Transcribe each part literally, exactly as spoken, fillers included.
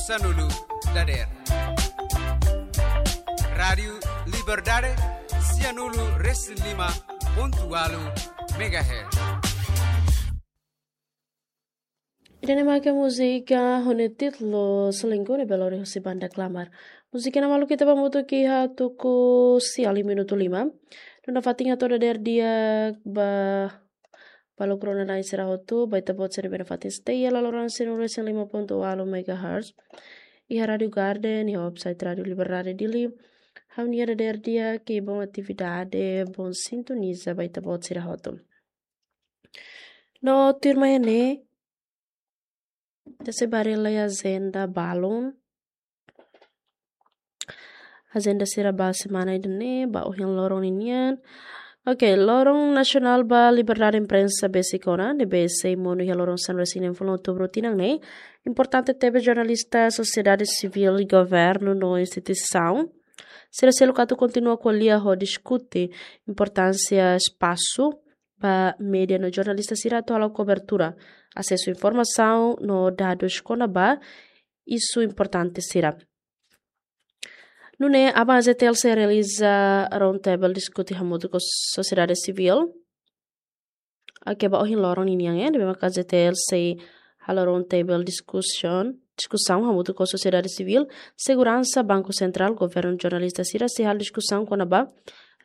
Sanulu dader. Rádiu Liberdade, sianulu resin lima pontu walu megahertz. Ida-ne'e maka múzika ho nia títulu Selingkuh ne'ebé lori husi banda Klamar. Múzika ne'e malu ita ba mutu ki ha tuku sia liu minutu lima. Duna fatin hato'o dader di'ak ba, ba lokraik ona nain sira hotu, ba ita-boot sira ne'ebé nafatin stay iha laloran sianulu resin lima pontu walu megahertz. Iha Rádiu Garden, iha website Rádiu Liberdade Dili. Ha'u-nia dader di'ak, bom atividade, bom sintoniza ba ita-boot sira hotu. No tuirmai ne'e, ita sei bá haree lai ajenda balun. Ajenda sira ba semana ida-ne'e, ba ohin loron ninian. Ok, loron nasionál ba liberdade imprensa besik ona, ne'ebé sei monu iha loron sanulu resin neen fulan outubru tinan ne'e. Importante tebes jornalista, sosiedade sivíl, governu no instituisaun sira seluk atu kontinua ko'alia ho diskute importánsia espasu ba média no jornalista sira atu halo kobertura, asesu informasaun no dadus kona-ba isu importante sira. Nune'e aban AJTL sei realiza round table diskute hamutuk ho sosiedade sivíl. Ok, ba ohin loron ninian, eh, ne'ebé maka AJTL sei halo round table discussion, diskusaun hamutuk ho sosiedade sivíl, seguransa, Banku Sentrál, governu, jornalista sira sei halo diskusaun kona-ba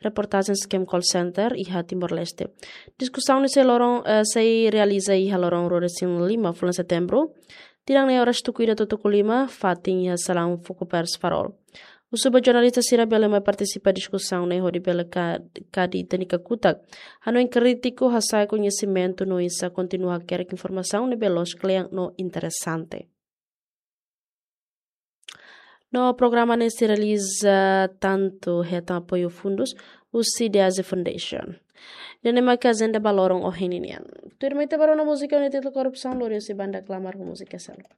reportajen scam call center iha Timor-Leste. Diskusaun ne'e sei loron, eh, sei realiza iha loron ruanulu resin lima fulan setembru, tinan ne'e, oras tuku ida to'o tuku lima, fatin iha salaun Focopers Farol. Husu ba jornalista sira bele mai partisipa diskusaun ne'e hodi bele ka-, kadi ita-nia kakutak, hanoin krítiku, hasa'e koñesimentu no oinsá kontinua hakerek informasaun ne'ebé loos kle'an no interesante. No programa ne'e sei realiza tantu hetan apoiu fundus husi The Asia Foundation. Ida-ne'e maka ajenda ba loron ohin ninian. Tuirmai ita bá rona múzika ho nia títulu Korrupsaun, lori husi banda Klamar ho múzika seluk.